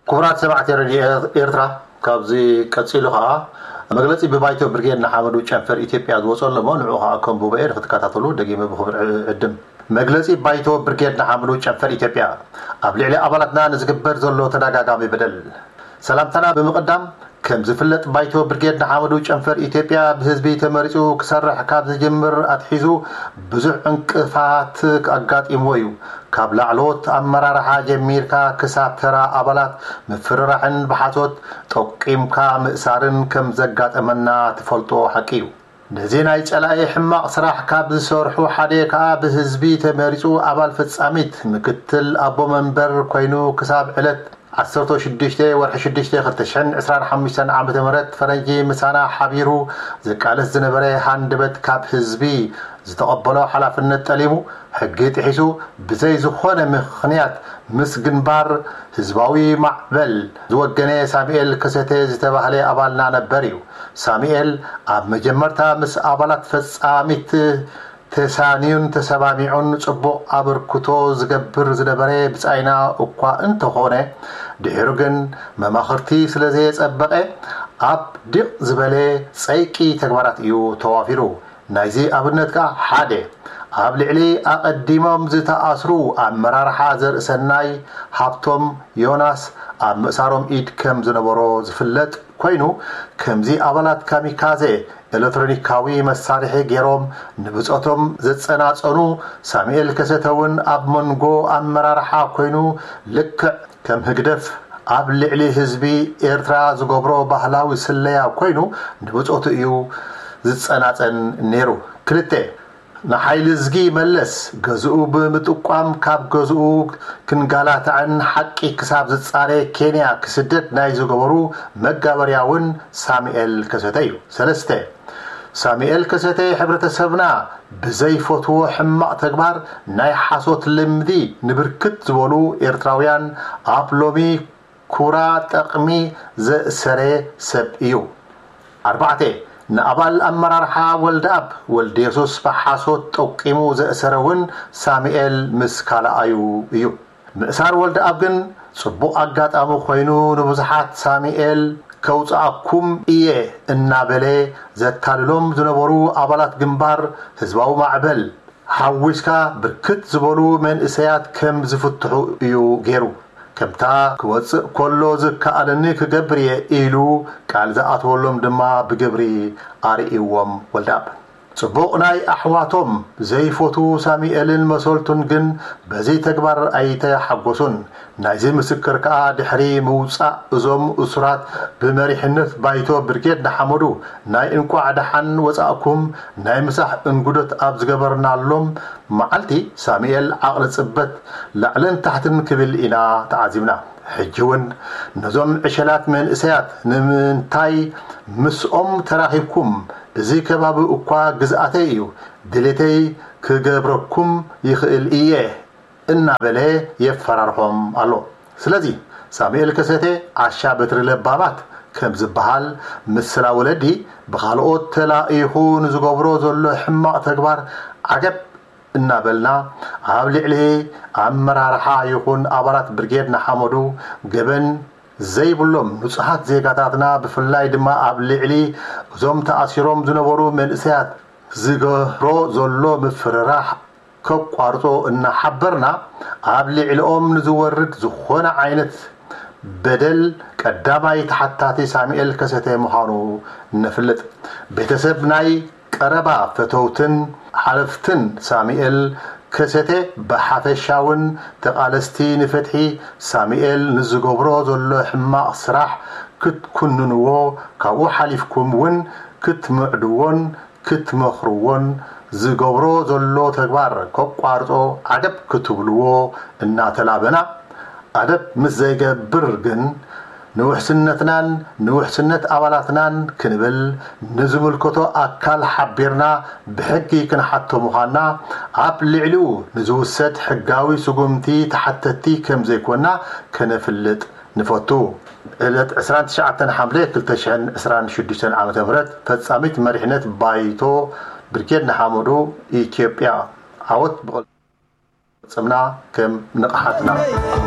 ክቡራት ሰማዕቲ ሬድዮ ኤርትራ፣ ካብዚ ቀጺሉ ከኣ መግለጺ ብባይቶ ብርጌድ ንሓመዱ ጨንፈር ኢትዮጵያ ዝወጸ ኣሎ እሞ፣ ንዕኡ ከኣ ከንብቦ እየ፣ ንክትከታተሉ ደጊመ ብኽብሪ ዕድም። መግለጺ ባይቶ ብርጌድ ንሓመዱ ጨንፈር ኢትዮጵያ፣ ኣብ ልዕሊ ኣባላትና ንዝግበር ዘሎ ተደጋጋሚ በደል። ሰላምታና ብምቕዳም፣ ከም ዝፍለጥ፣ ባይቶ ብርጌድ ንሓመዱ ጨንፈር ኢትዮጵያ ብህዝቢ ተመሪጹ ክሰርሕ ካብ ዝጅምር ኣትሒዙ ብዙሕ ዕንቅፋት ኣጋጢምዎ እዩ። ካብ ላዕለዎት ኣመራርሓ ጀሚርካ ክሳብ ተራ ኣባላት ምፍርራሕን ብሓሶት ጠቂምካ ምእሳርን ከም ዘጋጠመና ትፈልጦ ሓቂ እዩ። ነዚ ናይ ጸላኢ ሕማቕ ስራሕ ካብ ዝሰርሑ ሓደ ከኣ ብህዝቢ ተመሪጹ ኣባል ፈጻሚት ምክትል ኣቦ መንበር ኮይኑ ክሳብ ዕለት ዓሰርተ ሽዱሽተ ወርሒ ሽዱሽተ ክልተ ሽሕን ዕስራን ሓሙሽተን ዓመተ ምህረት ፈረንጂ ምሳና ሓቢሩ ዝቃለስ ዝነበረ ሃንደበት ካብ ህዝቢ ዝተቐበሎ ሓላፍነት ጠሊሙ ሕጊ ጥሒሱ ብዘይ ዝኾነ ምኽንያት ምስ ግንባር ህዝባዊ ማዕበል ዝወገነ ሳሙኤል ከሰተ ዝተባህለ ኣባልና ነበር እዩ። ሳሙኤል ኣብ መጀመርታ ምስ ኣባላት ፈጻሚት ተሳንዩን ተሰማሚዑን ጽቡቕ ኣበርክቶ ዝገብር ዝነበረ ብጻይና እኳ እንተኾነ፣ ድሒሩ ግን መማኽርቲ ስለ ዘየጸበቐ ኣብ ዲቕ ዝበለ ጸይቂ ተግባራት እዩ ተዋፊሩ። ናይዚ ኣብነት ከኣ ሓደ፣ ኣብ ልዕሊ ኣቐዲሞም ዝተኣስሩ ኣመራርሓ ዘርእሰናይ ሃብቶም ዮናስ ኣብ ምእሳሮም ኢድ ከም ዝነበሮ ዝፍለጥ ኮይኑ፣ ከምዚ ኣባላት ካሚካዘ ኤሌክትሮኒካዊ መሳርሒ ገይሮም ንብጾቶም ዘጸናጸኑ ሳሙኤል ከሰተ እውን ኣብ መንጎ ኣመራርሓ ኮይኑ ልክዕ ከም ህግደፍ ኣብ ልዕሊ ህዝቢ ኤርትራ ዝገብሮ ባህላዊ ስለያ ኮይኑ ንብጾቱ እዩ ዝጸናጸን ነይሩ። ክልተ፣ ንሓይሊ እዝጊ መለስ ገዝኡ ብምጥቋም ካብ ገዝኡ ክንጋላታዕን ሓቂ ክሳብ ዝጻረ ኬንያ ክስደድ ናይ ዝገበሩ መጋበርያ እውን ሳሙኤል ከሰተ እዩ። ሰለስተ፣ ሳሙኤል ከሰተ ሕብረተሰብና ብዘይፈትዎ ሕማቕ ተግባር ናይ ሓሶት ልምዲ ንብርክት ዝበሉ ኤርትራውያን ኣብ ሎሚ ኩራ ጠቕሚ ዘእሰረ ሰብ እዩ። ኣርባዕተ፣ ንኣባል ኣመራርሓ ወልደኣብ ወልደየሱስ ብሓሶት ጠቂሙ ዘእሰረ እውን ሳሙኤል ምስ ካልኣዩ እዩ። ምእሳር ወልደኣብ ግን ጽቡቕ ኣጋጣሚ ኮይኑ ንብዙሓት ሳሙኤል ከውጽኣኩም እየ እናበለ ዘታልሎም ዝነበሩ ኣባላት ግንባር ህዝባዊ ማዕበል ሓዊስካ ብርክት ዝበሉ መንእሰያት ከም ዝፍትሑ እዩ ገይሩ። ከምታ ክወጽእ ከሎ ዝከኣለኒ ክገብር እየ ኢሉ ቃል ዝኣተወሎም ድማ ብግብሪ ኣርእይዎም ወልደኣብ። ጽቡቕ ናይ ኣሕዋቶም ዘይፈትዉ ሳሙኤልን መሰልቱን ግን በዚ ተግባር ኣይተሓጎሱን። ናይዚ ምስክር ከኣ ድሕሪ ምውጻእ እዞም እሱራት ብመሪሕነት ባይቶ ብርጌድ ንሓመዱ ናይ እንቋዕ ደሓን ወጻእኩም ናይ ምሳሕ እንጉዶት ኣብ ዝገበርናሎም መዓልቲ ሳሙኤል ዓቕሊ ጽበት ላዕልን ታሕትን ክብል ኢና ተዓዚብና። ሕጂ እውን ነዞም ዕሸላት መንእሰያት ንምንታይ ምስኦም ተራኺብኩም? እዚ ከባቢ እኳ ግዝኣተይ እዩ፣ ድሌተይ ክገብረኩም ይኽእል እየ እናበለ የፈራርሖም ኣሎ። ስለዚ ሳሙኤል ከሰተ ዓሻ በትሪ ለባማት ከም ዝበሃል ምስላ ወለዲ ብኻልኦት ተላኢኹ ንዝገብሮ ዘሎ ሕማቕ ተግባር ዓገብ እናበልና ኣብ ልዕሊ ኣመራርሓ ይኹን ኣባላት ብርጌድ ንሓመዱ ገበን ዘይብሎም ንጹሃት ዜጋታትና ብፍላይ ድማ ኣብ ልዕሊ እዞም ተኣሲሮም ዝነበሩ መንእሰያት ዝገብሮ ዘሎ ምፍርራሕ ከቋርጾ እናሓበርና ኣብ ልዕሊኦም ንዝወርድ ዝኾነ ዓይነት በደል ቀዳማይ ተሓታቲ ሳሙኤል ከሰተ ምዃኑ ነፍልጥ። ቤተሰብ ናይ ቀረባ ፈተውትን ሓለፍትን ሳሙኤል ከሰተ ብሓፈሻውን ተቓለስቲ ንፍትሒ ሳሙኤል ንዝገብሮ ዘሎ ሕማቕ ስራሕ ክትኩንንዎ፣ ካብኡ ሓሊፍኩም እውን ክትምዕድዎን ክትመኽርዎን ዝገብሮ ዘሎ ተግባር ከቋርጾ ዓገብ ክትብልዎ እናተላበና፣ ኣደብ ምስ ዘይገብር ግን ንውሕስነትናን ንውሕስነት ኣባላትናን ክንብል ንዝምልከቶ ኣካል ሓቢርና ብሕጊ ክንሓቶ ምዃንና ኣብ ልዕሊኡ ንዝውሰድ ሕጋዊ ስጉምቲ ተሓተቲ ከም ዘይኮና ከነፍልጥ ንፈቱ። ዕለት ዕስራን ትሽዓተን ሓምለ ክልተ ሽሕን ዕስራን ሽዱሽተን ዓመተ ምህረት ፈጻሚት መሪሕነት ባይቶ ብርጌድ ንሓመዱ ኢትዮጵያ ዓወት ብቕልጽምና ከም ንቕሓትና።